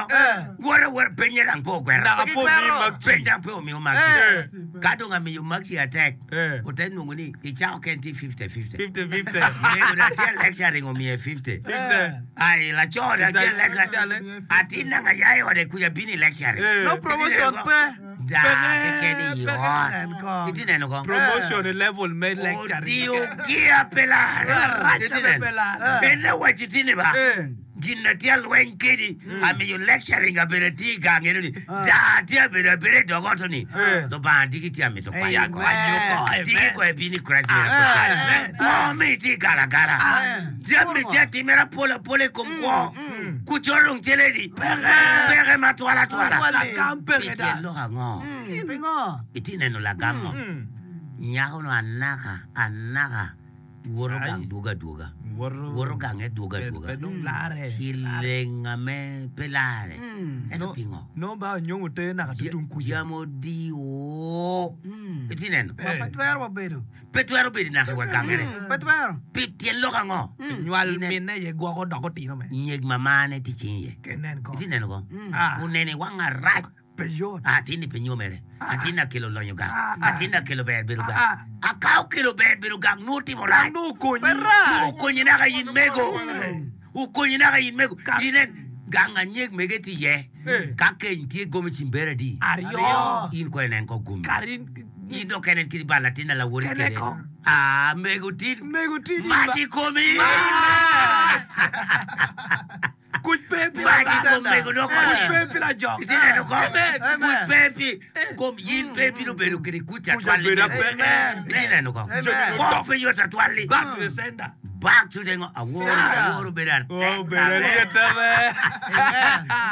Wot awota penye dang pe ogwero. Naka po omiyi makci. Peny dang pe omiyo makci. Ka dong amiyo makci atek, Eh. ote nongo ni icako ken tye fifty fifty. Fifty fifty. Mego dong tye lecturing omiye fifty. Fifty. Ai laco dong tye lecturing. Atin nanga ya i ode kuca bino i lecturing. Eh. No promotion pe. Da keken i ot. Nen ko. Itye neno ko? Promotion i level me lecturing. Odiyo gia pe lare. Rac Itye pe neno? lare. En awaci tini ba. Eh. Gin na tye alweny kedi amiyo lecturing abedo tye i gang eno ni da tye abedo abedo i dog ot ni Eh. Lubanga diki tye amito kwanyo Amen. ko. Diki ko ebino i Christ Miracle Church. Amen. Ngo mi itye i galagala. Jami tye atimere apol apola i kom kwo. Kucoro dong celedi. Peke matwal atwala. Lagam peke Pi da. tyen lok ango? Pingo? Itye neno lagam mo? Nyako no anaka anaka woto gang dwogo adwoga. Woto gange dwogo adwoga. Pe dong lare. Ci leng ame pe lare. Ento pingo? No ba onyongo te naka tutung kuca. Jam odio. Itye neno? Pe twero wabedo. Pe twero bedo naka wa gangere. Pe twero. Pi tyen lok ango? Nywal Ine- minne ye gwoko dok otino me. Nyeg mamane tye cing iye. Kenen ko. Itye neno ko? Ah. Onene wang arac. Pe yot. Atin-ni pe nyomere. Atin akelo lonyo gang. Ah, ah. Atin akelo ber bedo gang. Ah, Aka okelo ber bedo gang nwo timo rac. Nwo okonyi. Nwo okonyi naka in mego. Okonyi naka in mego. Inen gang anyeg mege tye iye. Eh. Ka keny tye gomi cimbere adi. Aryo. In ko inen ko gumi. Karin. In dok kenen kidi bal latin na lawori Kene kede. ko. Ah, mego tin. Mego tidi. Mac i komi. Kuc pe pi Mac i kom mego dok Kuc konyi. pe pi lajok. Itye neno ko? Amen. Kuc pe pi kom yin pe bino bedo kede kuc atwal-li. obedo apeke. Itye neno ko? Amen. Kwo pe yot atwal-li. Back to the sender. Back to the ngo. Aworo, aworo bedo atek. Oh, bedo lyet ame.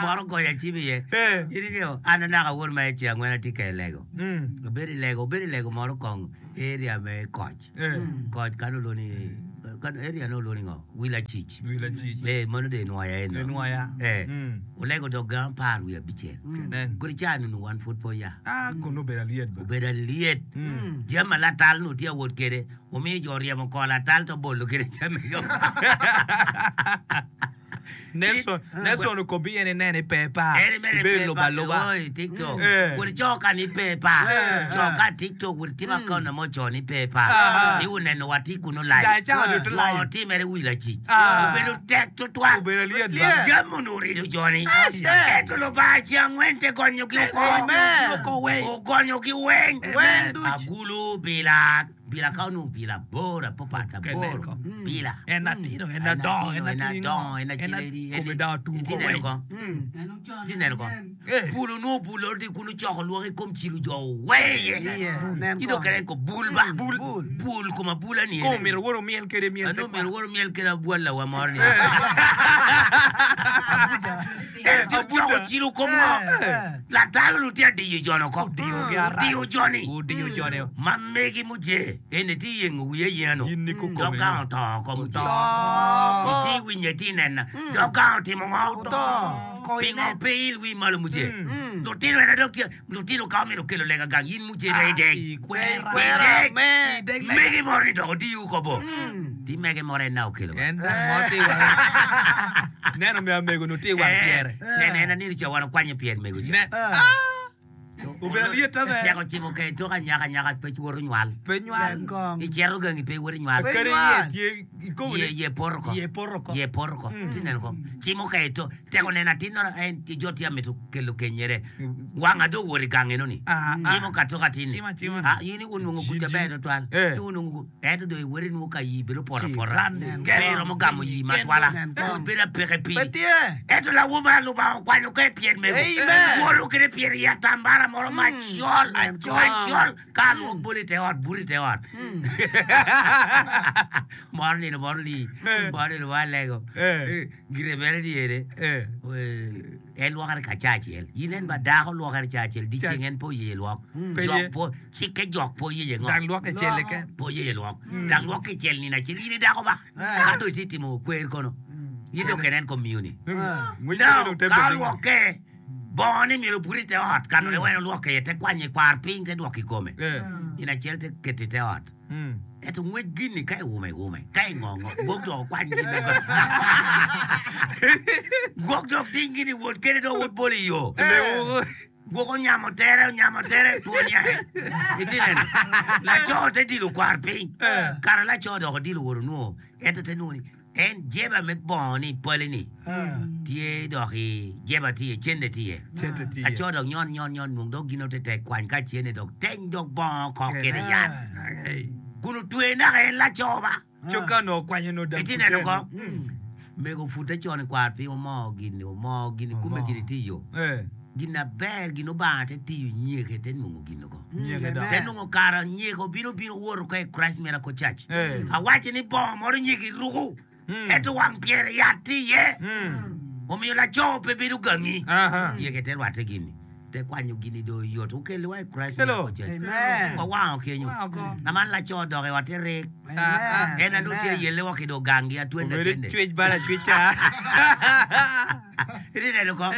Moro goyo acim iye. Eh. In ingeo, an anaka awor ma i ceng angwen atye ka i lego. Mm. Obedo i lego, obedo i lego moro kong area me koc. Eh. Koc kano olwongo kano area no olwongo ngo? Wilacic. Wilacic. Eh, mano de nwoya eno. Enwoya. Eh. Mm. Olego dog gang apar wiye abicel. Kenen. Kodi ca nunu wan pud pe oya. Ah, kono obedo alyet ba. Obedo alyet. Jami latal nu tye awot kede. Omiyo jo oryemo ko latal to bolo kede jami go. Nelson, Nelson okobi en inene i pepa. En mere Ibedo pe luba pa luba. oi TikTok. Eh. Wod co ka ni pe pa. Co ka TikTok wod timo account mo co ni pe pa. Ah. I uneno wa ti kuno live. Da, ca oduto live. Ngo timere wi lacic. Ah. Obedo tek tutwal. Obedo alyet ba. Jami onongo orido joni. Ento Lubanga ceng angwen te gonyogi oko. Amen. Oko weng. Ogonyogi weng. Weng duc. Agulu bila bila ka onongo bila bor apopat Kene aboro. ko. Bila. En atino, en adongo, en En atino. adongo, en En aciledi. kome dong atur Itye ko neno weng. ko? Itye neno ko? Eh. Bulo nwo bulo ti kunu coko lwok i kom cilo jo weye. Iye, nen Ito ko. kene ko bul ba. Bul. Bul koma bula ni. Ko myero woro miel kede miel. Ano myero woro miel kede abwal lawa moro ni. En ti coko cilo kom ngo. Latalo nu tye adiyo jono ko. Odiyogi arac. Odiyo joni. Odiyo joni. Ma megi muje. Ene ti yengo wiye yeno. Yin ni kukome Dok no. ka oto oko muje. Oto. Iti winye ti nena. Dok ka otimo ngo. Oto. Pingo pe il wi malo muje. Lutino ena dok tye. Lutino ka omito kelo lega gang. Yin muje dong ideg. Ikwera. Ikwera. Ideg. Amen. Ideg lega. Megi moro ni dok odiyo ko bo. Ti mege moro en na okelo. En dang mo ti wang. Neno mi amego no ti wang piere. Nene en anino ca wan okwanyo pyer mego ca. Ne. Ah! Obedo alyet ame. Teko cimo ke tok anyaka anyaka pe woto nywal. Pe nywal. Nen kong. Icero gangi pe woto nywal. Pe Kadi nywal. iye tye ikobo Ye ni. ye poro ko. Iye poro ko. Ye poro ko. Ti neno ko. Cimo ke to teko neno atin no en ti jo ti amito kelo kenyere. Wanga do wori gange no ni. Ah, ah. Cimo ka tok atin ni. Cimo, cimo. Ah yini unwongo kuca Ji, ji. ber twatwal. Eh. Ti unwongo eto do iweri nwo ka yi bedo pora Ci, pora. ran, Pe romo gamo yi matwala. Nen kong. Bedo apeke Pe piny. tye. Eto lawuma Lubanga okwanyo ke pyer mego. Amen. Woto kede pyer i atambara moro macol. Macol. Ka lwok bolo i te ot, buri i te ot. Moro nino moro li. Eh. Moro nino moro alego. Eh. Gire mere dyere. Eh. Eh, En lwokere ka ca acel. Yin en ba dako lwokere ca acel. Dyeceng en pe oye lwok. Pe Jok ye. po, cikke jok pe oye ngo. Dang lwok ecel keken. Po oye lwok. Dang lwok kicel nino acel. Yin i dako ba. Ka dong itye timo kwer kono. Yin dong kene en kom miyo-ni. Ngwec No, dong te ka bedo. olwoke bongo ni myero obut i te ot kano ne wen olwoke iye te kwanye kwar piny te dwoko i kome Eh. nino acel te keto i te ot Ento ngwec gin-ni ka iume iume, ka ingo ngo, gwok dok okwany gin dok. Gwok dok ting gin iwot kede dok wot bolo i yo. Gwok onyamo tere, onyamo tere, two niange. Itye neno? Laco te dilo kwar piny. Kara laco dok odilo wot onwongo, ento te nongo ni en jeba me bongo ni pali ni tye dok i jeba tye iye, cente tye iye. Cente tye iye. Laco dok nyon nyon nyon nwong dok gino te tek kwany ka cente dok teny dok bongo kok kede yat. Kun otwe naka en laco ba. Coka onongo okwanyo nongo dang Itye neno puteni. ko? Mego opute con i kwar piny omoo gin-ni, omoo gin-ni, kume gin-ni tye iyo. Eh. Gin aber, gin Obanga te tiyo nyeke te nongo gin oko. Nyeke dok. Te nongo kara nyeke obino bino woto ka i Christ Miracle Church. Eh. Awaco ni bongo moro nyeke iruku, ento wang pyere yat tye iye. Omiyo laco pe bedo gangi. Aha. Nyeke te rwatte gin-ni. Te kwanyo gin-ni dong oyot. Okelliwa i Christ Hello. Miracle Church. Amen. Wawango kenyo. Wango oko. Aman laco odok i otte rik. Amen. En anu tye yelle wa ki dong gangi atwende Obedo kende. cwec bala cweca. Iti neno ko?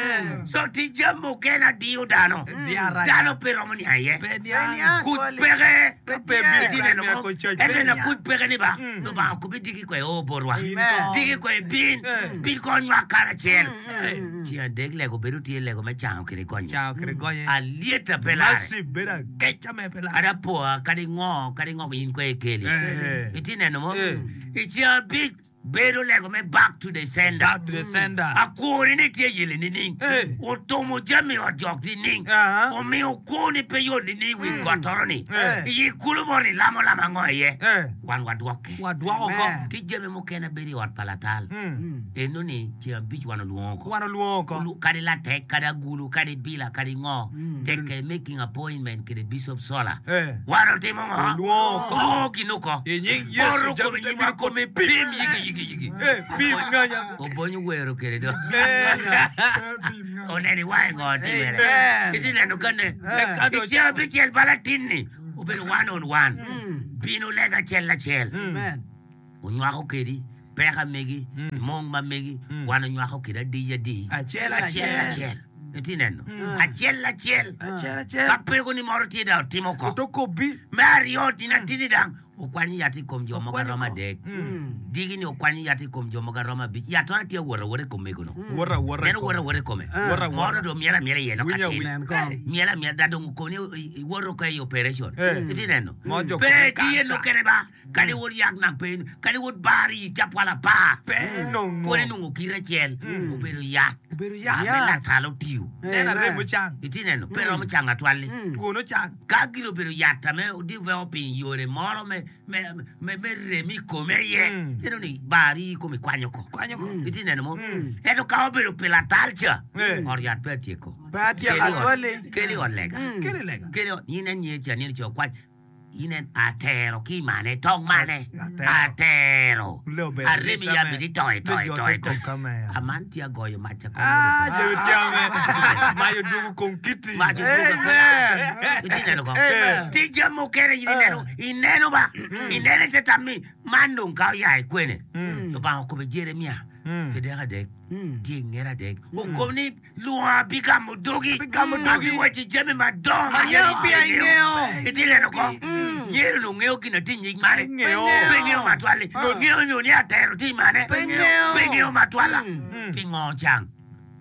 So tic jami mukene adiyo dano. Diyo arac. Dano pe romo niang iye. Pe niang. niang. Kuc peke. Ka pe bino Iti neno ko? Miracle Church, Ento pe ena niang. kuc peke ni ba, Lubanga okobi diki kwe o botwa. Amen. Diki kwe bin, bin konynwa karacel. Ceng adek lego bedo tye lego me cango kede gonye. Cango kede gonye. Alyetta pe lare. Mercy bedo ageca me pe lare. Kadi apoa, kadi ngo, kadi ngo in kwe ikeli. Eh. Iti neno mo? Eh. I ceng abic bedo lego me back to the sender. Back to the sender. Akwoni ni tye yele nining? Eh. Otumo jami i ot jok nining? Aha. Omiyo kwoni pe yot nining wi got toro-ni? Eh. I kulu mo ni lamo lamo ango iye? Eh. Wan wadwokke. Wadwoko oko. Amen. Tye jami mukene bedo i ot pa latal. Eno ni ceng abic wan olwongo oko. Wan olwongo oko. Olu- Kadi latek, kadi agulu, kadi bila, kadi ngo. Tekke making appointment kede Bishop Sola. Eh. Wan otimo ngo? Olwongo oko. Olwongo gin oko. I nying Yecu, Oro jami kome te nyima bino kome pim yigi yigi yigi. Eh, pim nganya. Obonyo wero kede do. Eh. Oneno iwange ngo timere. Amen. Iti neno kane. Kado I ceng abicel pa latin-ni obedo one on one. Bino lega acel acel. Amen. Onywako kedi peka megi, mong ma megi, wan onywako kedi adic adi. Acel Acel acel. acel. Iti neno. Acel acel. Acel acel. Ka peko ni moro tye dang otimo ko. Otokobi. Me aryo tin atini dang okwanyo yat i kom jo mogo aromo adek. Digi ni okwanyo yat i kom jo mogo aromo abic. Yat tora tye awot awota i kom mego no. Wot awota i Neno kome. wot awota i kome. Wot awota. Moro dong myel amyela iye no Winyo katin. awiny. Nen kong. Myel amyela da dong okoni iwoto ka i operation. Eh. Iti neno. Mo jo Pe kome tye kansa. nokene ba. Kadi wot yak nak pe. Kadi wot bar i capwal apar. Pe nongo. Kodi nongo kite acel. Obedo yat. Obedo yat. Ame latal otiyo. Neno arem ocang. Iti neno. Pe romo cango atwal-li. Twon ocang. Ka gin obedo yat ame odiweko piny yore moro me me me me rem i kome iye eno ni bar i kome kwanyo ko Kwanyo ko. iti neno mo ento ka obedo pi latal ca Eh. ot yat pe atyeko Pe atyeko Keli ot- atwali. keli ot lega Keli lega. keli ot in en nye ca nino ca okwac in en atero ki mane tong mane Atero. atero Leo ber. aremi Lita ya me. bidi toe toe Leo toe jote toe kom kamera. aman tye agoyo mac ca Ah, jawi tiame. Mayo dwogo kom kiti. Mac odwogo kom- Amen. Iti neno ko? Amen. Ti jami mukene in ineno, ineno ba, ineno ite tammi, man dong ka oya i kwene. Lubanga okobo Jeremia, pi dek adek, tye i nget adek. Okobo ni lwongo abigamo dogi, abiwaci jami madongo ma Angeyo pi angeyo. Iti neno ko? Nyero ni ongeyo gin ati nyig mane. Ngeyo. Pe ngeyo matwal-li. Ngeyo nyo ni atero ti mane. Pe ngeyo. Pe ngeyo matwal-la. Pingo ocang?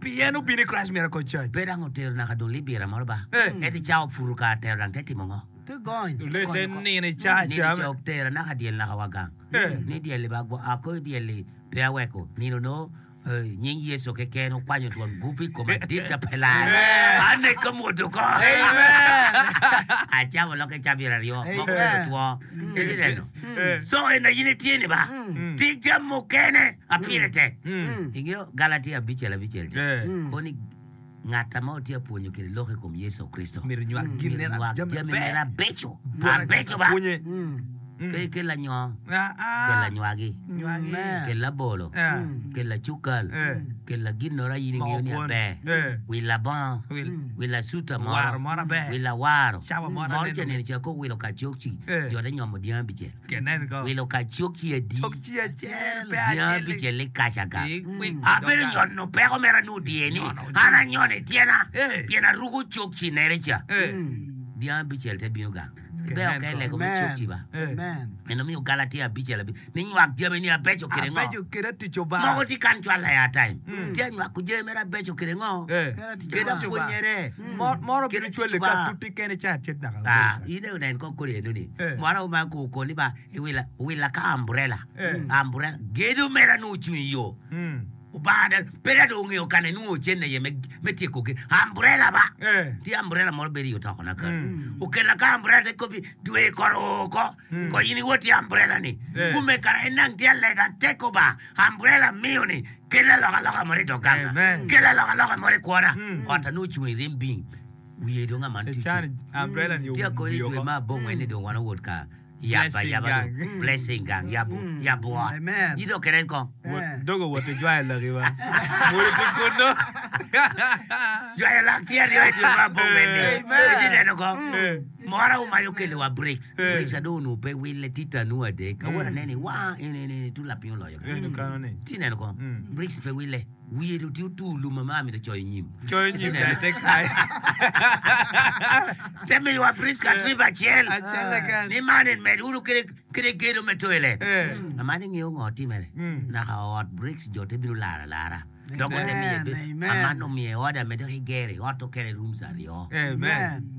Pien obino i Christ Miracle Church. Pe dang otero naka dong libira moro ba. Eh. Ento ca oputo ka atero dang te timo ngo? Te gony. Olete nino i ca Nino ca. ca otero naka dyel naka wa gang. Eh. Ni dyel-li ba gwo ako dyel-li pe aweko. Nino no eh, nying Yecu keken okwanyo twon gup i koma dit pe lare. Ane ka mwodo ko. Acamo loke cabit aryo. Moko bedo two. Iti neno. Eh. So en in itye ni ba. Ti jami mukene apire tek. Ingeyo Galatia abicel abicel ca. Eh. Koni ngat ma otye pwonyo kede lok i kom Yecu Kricito. Myero nywak gin Myero nera nywak jami jami maber. mere abeco. Abeco ba. Pwonye. Pe kel anyo, Ah, ah. kel anywagi, Nywagi. kel abolo, Eh. kel acukal, Eh. kel agin ora in ingeyo ni Moko kwon. aber. Eh. Wil abongo, Wil. wil asuta Waro moro, moro aber. wil awaro. Cawa moro Moro aneno. ca neno ca ko wilo kacokci, Eh. jo te nyomo dyang abicel. Kenen ko. Wilo kacokci adi, Cok ci acel, pe dyang acel. abicel li kaca gang. Ikwik. Abedo nyono peko mera nu die ni, Nyono an anyono i tyena, Eh. pien aruko cokci nere ca. Eh. Dyang abicel te bino gang. Ibeyo ka ilego me Amen. cuk ciba. Amen. En omiyo Galatia abicel abic ni nywak jami ni abeco kede ngo. Abeco kede tic Obanga. Moko tye kan cwal aya time. Tye anywako jami mere abeco kede ngo. Eh. Kede apwonyere. Moro moro Kede bino cwale tic ka Obanga. tuti kene ca cet naka. Ah, in aye onen kong kodi eno ni. Eh. Moro ma ku koni ba iwila wila ka umbrella. Eh. Umbrella. Gedo mera nu ocung i yo. Mm. Obanga pe da dong ongeyo kane nongo ocenne iye me me tyeko ge umbrella ba. Eh. Tye umbrella moro bedo i otokona kany. Okela ka umbrella te kopi dwe kor oko. Ko in iwot i umbrella ni. Eh. Kume kara en nang tye alega teko ba umbrella miyo ni kel alokaloka moro i dog ganga. Amen. Kel alokaloka moro i kwona. Ot anu ocung i rim bing. Wiye dong aman E tye can ocung. umbrella ni Tye akoni owiyo dwe oko. ma abongwen ni dong wan owot ka yabo Blessing ayaba gang. dong. Blessing gang yabo yabo ot. Amen. Ido kenen kong. Wot- Dogo wot ijwayo laki ba. Wot iti kuno. Jwayo lak tye aryo i dwe ma abongwen ni. Amen. Iti neno kong. Eh. Mora omayo kelo wa bricks. Eh. Bricks adong onongo pe wille tye tanu adek. Awora aneni wa eni eni eni tu lapiny oloyo. Eno kano ni. Ti neno kong. Mm. Bricks pe wille. Wiye dong tye otur lum ma mito coyo nyim. Coyo Iti nyim neno. dai te kai. Te miyo wa bricks ka trip acel. Acel keken. Ni man en med wunu kede kede gedo me toilet. Eh. Amani ng'eyo ngo timere. Mm. Naka ot bricks jo te bino lara lara. Dok ote miye Amen, be- amen. Aman omiye order me dok igere ot okele rooms aryo. Amen.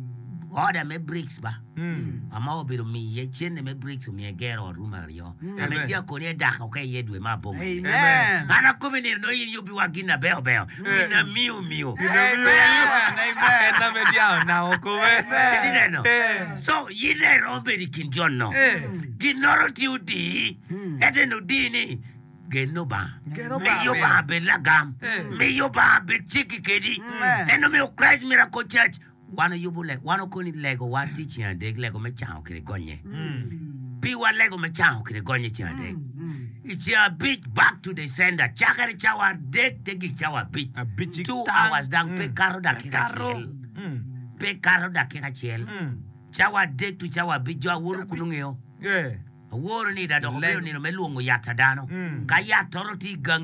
Order me bricks ba. Mm. Ama obedo miye cene me bricks omiye gero ot room aryo. Ame Amen. tye akoni edako ka iye dwe ma abongwen. Amen. An akobi nino no in yubi wa gin abeyo beyo. Gin amiyo miyo. Amen. En ame diao nao kome. Iti neno. Eh. So in iromo bedo i kin jon no. Eh. Ginoro tye odii. Ento en odii ni gen Lubanga. Gen Lubanga. Miyo Lubanga bed lagam. Eh. Miyo Lubanga bed ciki kedi. Amen. En omiyo Christ Miracle Church wan oyubo le wan okoni lego wan tye ceng adek lego me cango kede gonye. Pi wan lego me cango kede gonye ceng adek. I ceng abic back to the sender cakere cawa adek te gik cawa abic. Abic Two tang. hours dang pe kato dakika acel. Mm. Pe kato dakika acel. Mm. Cawa adek tu cawa abic jo aworo kun ongeo. Eh. Aworo ni da dok Lego. obedo nino me lwongo yat a dano. Mm. Ka yat toro tye i gangi